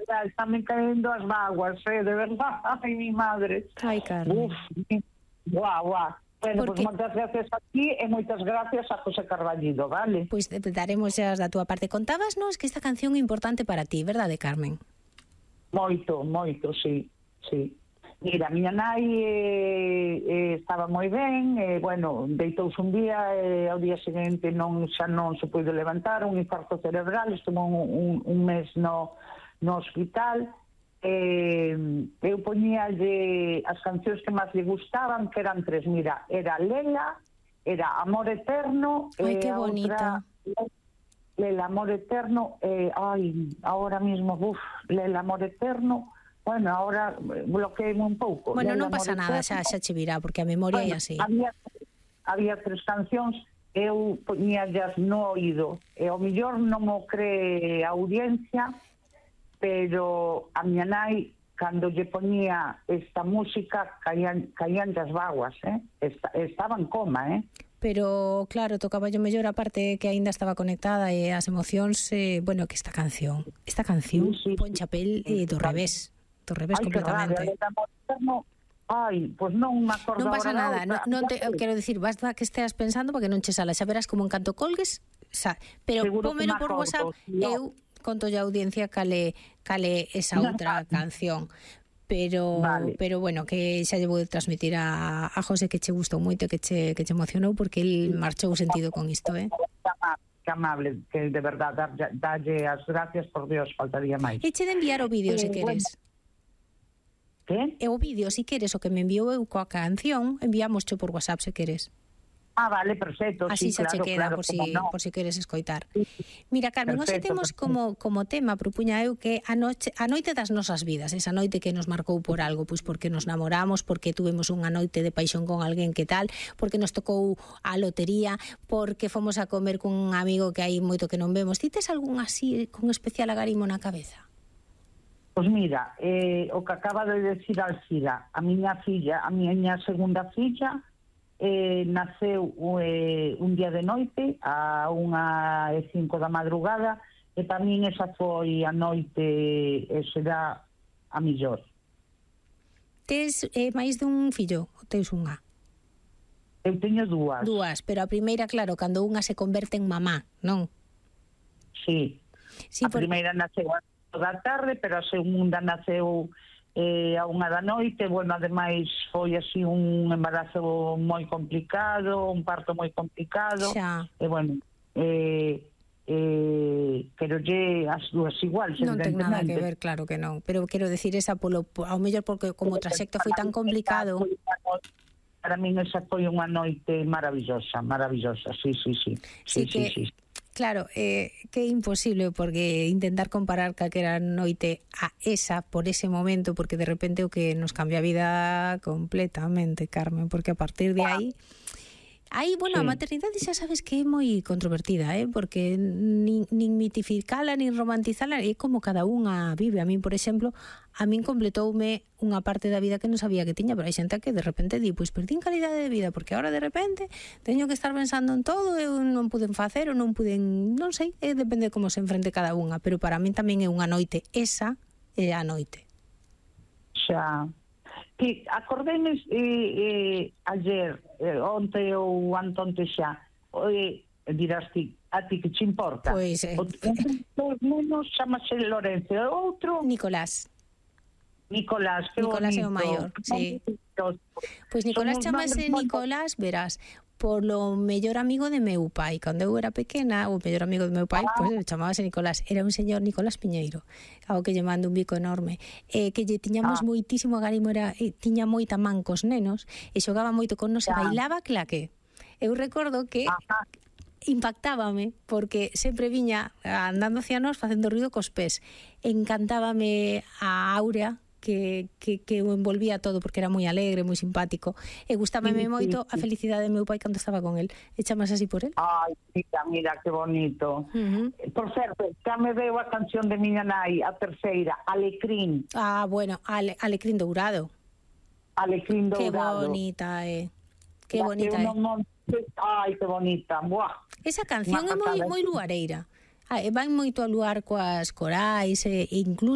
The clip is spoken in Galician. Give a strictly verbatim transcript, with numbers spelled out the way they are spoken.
mira, están cayendo as vaguas, eh, de verdad, ai, mi madre. Ai, Carmen. Uf, guau, guau. Bueno, Porque... pois pues, moitas gracias a ti e moitas gracias a José Carballido, vale? Pois pues, daremos xa da túa parte. Contábasnos que esta canción é importante para ti, verdade, Carmen? Moito, moito, sí, sí. Mira, miña nai eh, eh, estaba moi ben, eh, bueno, deitouse un día e eh, ao día seguinte non xa non se puido levantar, un infarto cerebral, estuvo un, un, un mes no, no hospital. Eh, eu poñíalle as cancións que máis lle gustaban, que eran tres, mira, era Lela, era Amor Eterno, ai, eh, que bonita. Outra, Lela, Amor Eterno, eh, ai, ahora mismo, uf, Lela, Amor Eterno. Bueno, ahora bloqueéme un pouco. Bueno, non pasa nada, xa, xa che virá, porque a memoria bueno, é así. Había, había tres cancións, eu poñíallas no oído, e ao millor non o cree a audiencia, pero a miña nai, cando lle poñía esta música, caían, caían das vaguas, eh? Esta, estaba en coma, eh? Pero, claro, tocaba yo mellor a parte que aínda estaba conectada e as emocións, eh, bueno, que esta canción, esta canción, sí, sí, pon chapel eh, do revés. Do revés. Ay, completamente. Ai, pois pues non me acordo. Non pasa nada, non, non te, ya, quero dicir, basta que esteas pensando porque non che sala, xa verás como en canto colgues, xa, pero pómelo por WhatsApp, no. Eu conto a audiencia cale cale esa outra canción. Pero vale. pero bueno, que xa lle vou transmitir a, a José que che gustou moito, que che que che emocionou porque el marchou sentido con isto, eh. Que amable, que de verdad dalle as gracias, por Dios, faltaría máis. E che de enviar o vídeo, eh, se queres. Bueno. Que? E o vídeo, se queres, o que me enviou eu coa canción, enviámoscho por WhatsApp, se queres. Ah, vale, perfecto. Así sí, xa claro, che queda, claro, por si, no. por si queres escoitar. Sí. Mira, Carmen, hoxe temos perfecto. como, como tema, propuña eu, que a, noche, a noite das nosas vidas, esa noite que nos marcou por algo, pois porque nos namoramos, porque tuvemos unha noite de paixón con alguén que tal, porque nos tocou a lotería, porque fomos a comer cun amigo que hai moito que non vemos. Ti tes algún así con especial agarimo na cabeza? Pois mira, eh, o que acaba de decir Alcira, a miña filla, a miña segunda filla, eh, naceu eh, un día de noite a unha e cinco da madrugada, e para min esa foi a noite, e será a millor. Tes eh, máis dun fillo ou tes unha? Eu teño dúas. Dúas, pero a primeira, claro, cando unha se converte en mamá, non? Sí, sí a por... primeira naceu a da tarde, pero a segunda naceu eh, a unha da noite. Bueno, ademais foi así un embarazo moi complicado, un parto moi complicado. Xa. E bueno, eh, eh, pero lle as dúas igual, non ten nada que ver, claro que non, pero quero decir esa polo, ao mellor porque como o traxecto foi tan complicado. Para min esa foi unha noite maravillosa, maravillosa, sí, sí, sí. Sí, sí, que... sí, sí. Claro, eh, que é imposible porque intentar comparar calquera noite a esa por ese momento, porque de repente o que nos cambia a vida completamente, Carmen, porque a partir de aí aí, bueno, sí. A maternidade xa sabes que é moi controvertida, eh? Porque nin, nin mitificala, nin romantizala, é como cada unha vive. A min, por exemplo, a min completoume unha parte da vida que non sabía que tiña, pero hai xente que de repente di, pois perdín calidade de vida, porque agora de repente teño que estar pensando en todo, eu non puden facer, ou non puden, non sei, eh, depende de como se enfrente cada unha, pero para min tamén é unha noite, esa é a noite. Xa... Que acordéme eh, eh, ayer, eh, onte ou antonte xa, eh, dirás ti, a ti que che importa? Pois, eh, o dos menos chamase Lorenzo, e outro Nicolás. Nicolás, que Nicolás bonito. é o maior, sí. Pois Nicolás chamase Nicolás, verás, polo mellor amigo de meu pai. Cando eu era pequena, o mellor amigo de meu pai, ah. pois chamábase Nicolás. Era un señor Nicolás Piñeiro, ao que lle mando un bico enorme. Eh, que lle tiñamos ah. moitísimo agarimo, era, eh, tiña moita man cos nenos, e xogaba moito con nos e bailaba claque. Eu recordo que ah. impactábame, porque sempre viña andando hacia nós facendo ruido cos pés. Encantábame a Áurea, que, que, que o envolvía todo, porque era moi alegre, moi simpático, e gustábame sí, moito sí, sí. a felicidade de meu pai cando estaba con el. E chamas así por el? Ai, mira, mira, que bonito. Uh-huh. Por certo, xa me veo a canción de miña nai, a terceira, Alecrín. Ah, bueno, Ale, Alecrín Dourado. Alecrín Dourado. Que bonita, eh. Que ya bonita, eh. Non... Ai, que bonita. Buah. Esa canción é moi, moi luareira. Ah, van moito a luar coas corais, e incluso